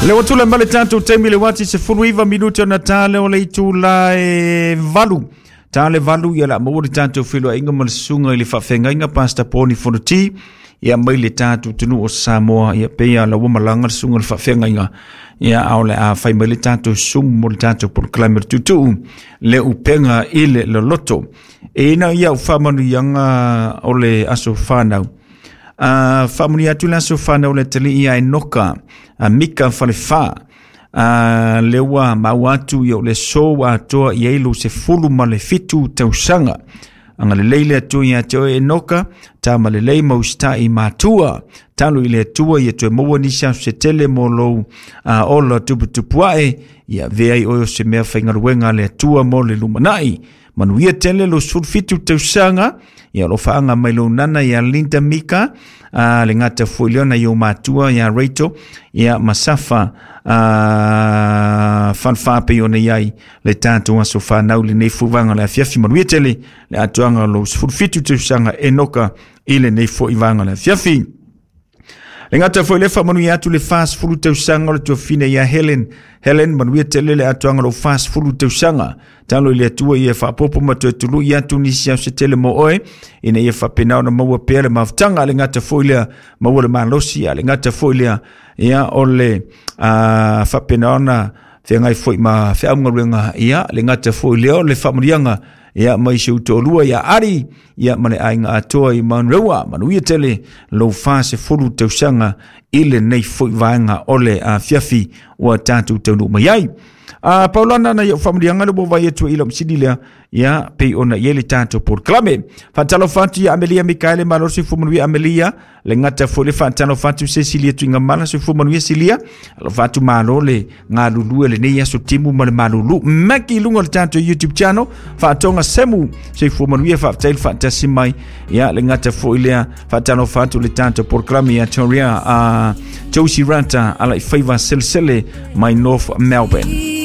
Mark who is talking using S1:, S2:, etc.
S1: Le ua tulai mai le tatou taimi le uati 19 minute ona ta lea o le itula e 8. Ta le 8 ia la maua le tatou feiloaiga ma le susuga i le faafeagaiga Pastor Poni Fonoti ia mai le tatou atunuu o Samoa ia pei lava ua malaga le susuga i le faafeagaiga ia a o le a fai mai le tatou sumu mo le tatou polokalame o le tuutuu le upega i le loloto. E ina ia au faamanuiaga o le aso fanau. A faamanuia atu le aso fanau le atalii ia Enoka a Mika Falefa a le ua maua atu ia o le aso ua atoa i ai lou 17 tausaga. Agalelei le Atua ia te oe Enoka, tama lelei ma usitai matua. Talo i le Atua ia toe maua nisi aso se tele mo lou ola tuputupu ae, ia avea ai oe o se mea faigaluega a le Atua mo le lumanai. Manuia tele lou 17 tausaga, ia alofaaga mai lou nana ia Linda Mika, le gata foi lea na i ou matua ia Rachel, ia ma Safa Falefa pei ona i ai le tatou aso fanau lenei foi vaega o le afiafi. Manuia tele le atoaga o lou 17 tausaga Enoka i lenei foi vaega o le afiafi. Le gata foi le faamanuia atu le 40 tausaga o le tuafine ia Helen. Helen, manuia tele le atoaga o lou 40 tausaga. Talo i le Atua ia faapopo ma toe tului atu nisi au se tele mo oe, ina ia faapena ona maua pea le mafutaga. Le gata foi lea, maua le malosi, a le gata foi lea, ia o le faapena ona feagai foi ma feaugaluega, ia le gata foi lea o le faamanuiaga, ia mai si ou toalua ia Ari, ia ma le aiga atoa i Manurewa. Manuia tele lou 40 tausaga i lenei foi vaega o le afiafi ua tatou taunuu mai ai. A Paulana na iau faamanuiaga le ua vai atu i lau masini lea, ia pei ona i ai le tatou polokalame. Faatalofa atu ia Amelia Mikaele, malo soifua manuia Amelia, le gata foi le faatalofa atu Cecilia Tuigamala, soifua manuia Silia, alofa atu malo le galulue lenei aso timu ma le malulu. Maki i luga o le tatou YouTube channel, faatoga semu, soifua manuia, faafetai le faatasi mai. Ia le gata foi lea faatalofa atu le tatou polokalame ia Toria Josie Rata ala i faiva selesele mai North Melbourne.